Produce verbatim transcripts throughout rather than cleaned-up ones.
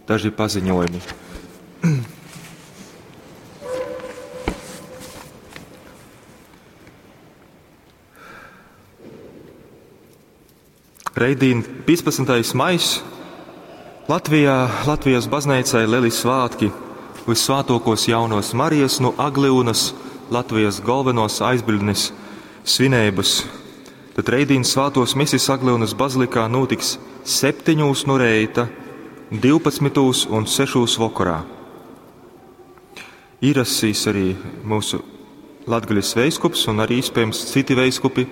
daži paziņojumi. Reitdien, piecpadsmitais maijs, Latvijā, Latvijas bazneicai lieli svētki, Vissvētokos jaunos Marijas no Aglyunas, Latvijas galvenos aizbildnis svinības. Tad reitdien svētos misis Aglyunas bazilikā notiks septiņos no reita, divpadsmitos un sešos vakarā. Ierasīs arī mūsu Latgaļas veiskups un arī iespējams citi veiskupi,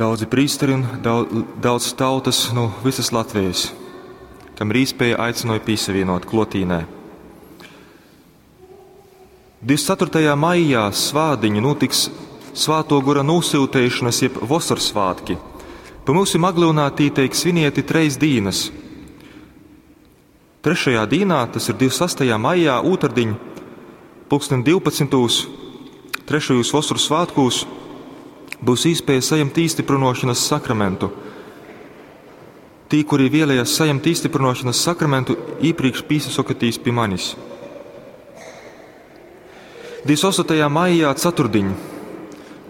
daudzi prīsteri un daudz, daudz tautas no visas Latvijas, kam ir iespēja aicināja piesavienot klotīnē. divdesmit ceturtajā maijā svādiņu notiks Svāto gura nosūtīšanas jeb vasarsvētki. Pa mūsim Aglyunā tī teik svinieti treis dīnas. Trešajā dīnā, tas ir divdesmit sastajā maijā, ūtardiņ, pulksten divpadsmitūs, trešajos vasaras svētkos, būs iespēja saņemt īstiprinošanas sakramentu. Tī, kuri vēlējās saņemt īstiprinošanas sakramentu, iepriekš pīsasokatīs pie manis. divdesmit astotajā maijā ceturtdiņ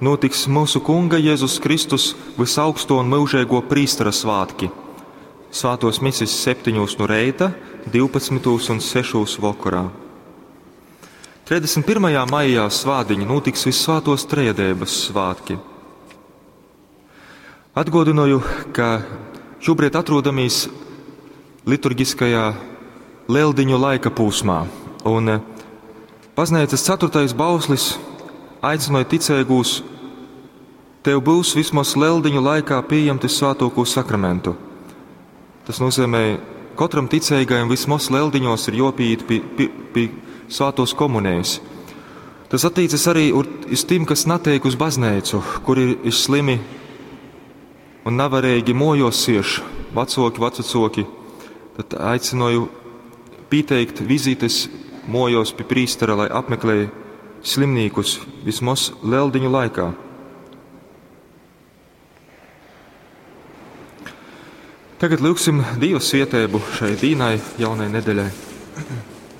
notiks mūsu Kunga Jēzus Kristus visaugsto un mūžīgo prīstera svētki. Svētos misis septiņos no reita, divpadsmitos un sešos vakarā. trīsdesmit pirmajā maijā svādiņa notiks Vissvētos Trejadības svētki. Atgādināju, ka šobrīd atrodamies liturgiskajā Lieldiņu laika posmā, un baznīcas ceturtais bauslis aicināja ticīgos: tev būs vismaz Lieldiņu laikā pieņemti svētoko sakramentu. Tas nozīmē, katram ticīgajam vismaz Lieldiņos ir jāpieiet pie, pie, pie svētos komunijas. Tas attiecas arī uz tiem, kas netiek uz baznīcu, kuri ir slimi un nevarīgi mojos sieš, vecoki, vecoki. Tad aicināju pieteikt vizītes mojos pie prīstera, lai apmeklēja slimnīkus vismaz Lieldiņu laikā. Tagad lūgsim Dieva svietēbu šai dīnai, jaunai nedēļai.